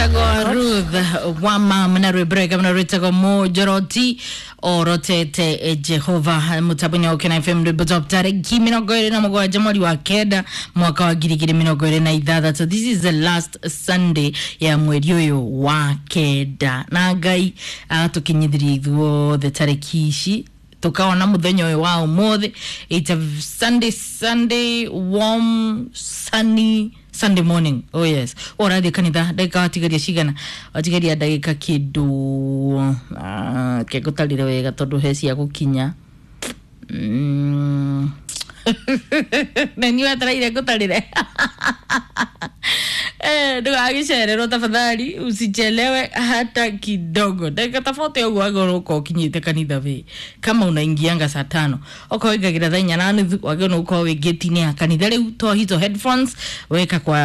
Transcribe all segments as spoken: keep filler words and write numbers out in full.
Ruth wama na rwimbo rwega muno rwitagwo Mũnjoroti orotete Jehova mũtambo-inĩ wa Ũkena F M rwimbo top tarĩki mĩrongo ĩrĩ na mũgwanja mweri wa kenda mwaka wa ngiri igĩrĩ mĩrongo ĩrĩ na ithathatũ. This is the last Sunday ya mweri ũyũ wa kenda na Ngai agatũkinyithirie ithuothe tarĩki ici tukaona muthenya uyu wa umuthi. It's a Sunday, Sunday warm sunny Sunday morning. Oh yes, ũrathiĩ kanitha ndagĩka watigaria cigana? Watigaria ndagĩka kĩndũ uh, kengũtarire wega tondũ he cia gũkinya mm. Na niĩ wetereire ngũtarĩre. Eh, ndũgagĩcererwo tafadhali, usichelewe hata kidogo. Ndagĩka ta forty ũguo wagĩrĩirwo gũkorwo ũkinyĩte kanitha wĩ. Kama unaingianga saa tano okorwo ũingagĩra thaa inya na nuthu wagĩrĩirwo nĩ gũkorwo wĩ gate-inĩ ya kanitha. Rĩu toa hizo headphones, weka kwa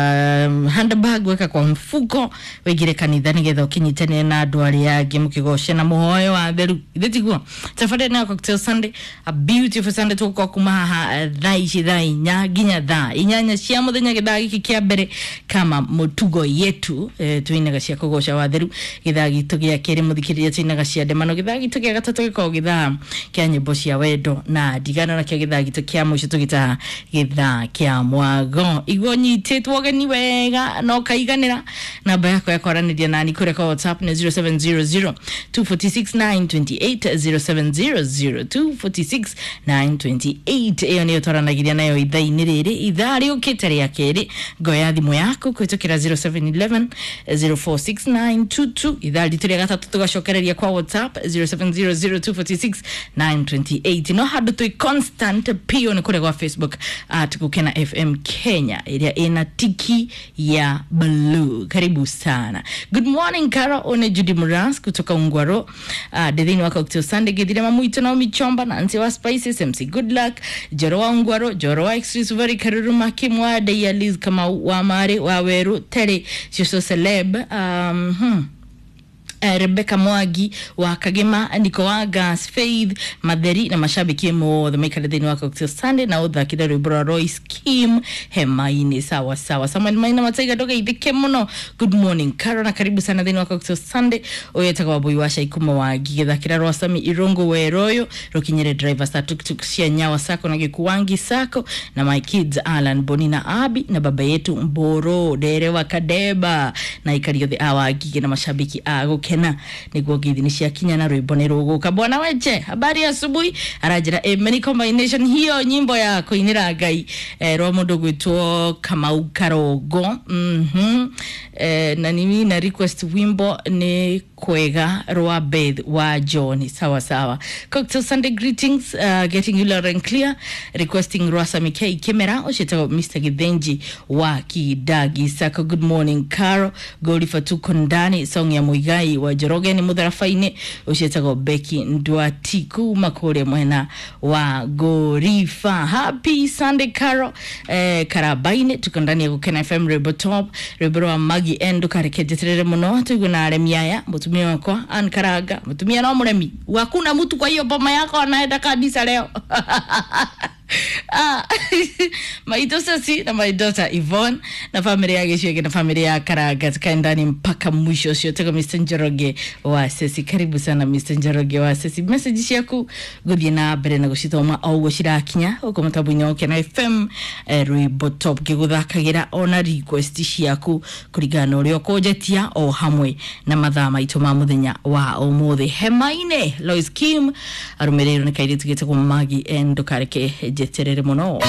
um, handbag, weka kwa mfuko, wĩingĩre kanitha nĩgetha ũkĩnyitanĩre na andũ arĩa angĩ mũkĩgoce na mũhoyo wa theru. Ithe tiguo tabarĩra nayo Cocktail Sunday, a beautiful Sunday. Tũgũkorwo kuma haha eh, thaa ici thaa inya nginya thaa inyanya cia mũthenya gĩthaa gĩkĩ kĩa mbere kama mũtugo yetu eh, twinaga cia kũgoca watheru. Gĩthaa gitũ gĩa kerĩ mũthikĩrĩria twinaga cia ndemano. Gĩthaa gitũ gĩa gatatũ gĩkoragwo gĩthaa kĩa nyĩmbo cia wendo na ndigano, nakĩo gĩthaa gitũ kĩa mũico tũgĩtaga gĩthaa kĩa mwago. Iguo nyitĩtwo ũgeni wega na ũkaiganĩra. Namba yakwa ya kwaranĩria nani kũrĩa kwa WhatsApp nĩ zero seven zero zero two four six nine two eight, zero seven zero zero two four six nine two eight. Ĩyo nĩyo twaranagĩria nayo ithaa-inĩ rĩrĩ. Ithaa rĩũkĩte rĩa kerĩ ngoya thimũ yaku kũhĩtũkĩra zero seven one one zero four six nine two two. Ithaa ritũ rĩa gatatũ tũgacokereria kwa WhatsApp zero seven zero zero two four six nine two eight. No handũ twĩ constant pio nĩ kũrĩa gwa Facebook at Gukena F M Kenya ĩrĩa ĩna tiki ya blue. Karibu sana. Good morning Caro, one Judy Muras kutoka Ungwaro. uh, ndĩ thĩinĩ wa Cocktail Sunday gĩthire mamuitũ Naomi Chomba, Nancy wa Spices, M C Good Luck, Joro wa Ungwaro, Joro wa Extreme Suvari, Karuruma Kimwa Deya, Liz Kamau wa Mare wa Weru Terry Shosho Celeb, um, hmm. Eh, Rebecca Mwagi wa Kagema, Niko wa Gas, Faith Matheri na mashabiki mothe maikare thĩinĩ wa Cocktail Sunday na ũthakire rwĩmbo rwa Royce Kim hema-inĩ. Sawa sawa. Samuel Maina Mataiga ndũgeithĩke mũno. Good morning Caro na karibu sana thĩinĩ wa Cocktail Sunday. Ũyũ etagwo Wambui wa Caikuma wa Ngigĩ. Rwa Sami Irungu Weroyo rũkinyĩre driver sa tuktuk cia Nyawa Sako na Gĩkuangi Sako na my kids Alan, Boni na Abi na baba yetu Mboro Derewa Kadeba na ikari othe a Wangigĩ na mashabiki a Gukena niguo ngithi nĩ ciakinya na rwĩmbo nĩ rũgũka. Bwana Weche, habari ya asubuhi. Aranjĩra eh, many combination hiyo nyimbo ya kũinĩra Ngai eh, rwa mũndũ gwĩtwo Kamau Karongo. mhm eh, na nimi na request wimbo nĩ kwega rwa Beth wa John. Sawa sawa. Cocktail Sunday greetings, uh, getting you loud and clear, requesting Rwasa Mikei Kimera ũciĩtagwo Mister Githenji wa Kidagi Sako. Good morning Caro, Golifa tuko ndani, song ya Muigai wa Njoroge nĩ mũtharabainĩ ũciĩtagwo Becky Ndwati kuma kũrĩa mwena wa Gorifa. Happy Sunday Caro, eh, Karabainĩ tuko ndani ya Gukena F M Rwimbo Top, rwimbo rwa Magi N ndũkareke njeterere mũno tũigue na aremi aya mũtumia wakwa Ann Karanga. Mũtumia no mũremi, hakuna mtu kwa hiyo boma yako anaenda kanisa leo. Ah, my daughter si na my daughter Yvonne na familia ya Gĩcuĩke na familia ya Karanga tukae ndani mpaka mwisho ũcio. Tego Mister Njoroge wa Sesi. Karibu sana Mister Njoroge wa Sesi. Message ciaku gũthiĩ na mbere na gũcithoma o ũguo cirakinya gũkũ mũtambo-inĩ wa Ũkena F M eh, rwĩmbo top ngĩgũthakagĩra ona request ciaku kũringana na ũrĩa ũkũnjetia o hamwe na mathaa maitũ ma mũthenya wa ũmũthĩ. Hema-inĩ Lois Kim arũmĩrĩirwo nĩ kairĩtu gĩtagwo Magi N ndũkareke njeterere mũno.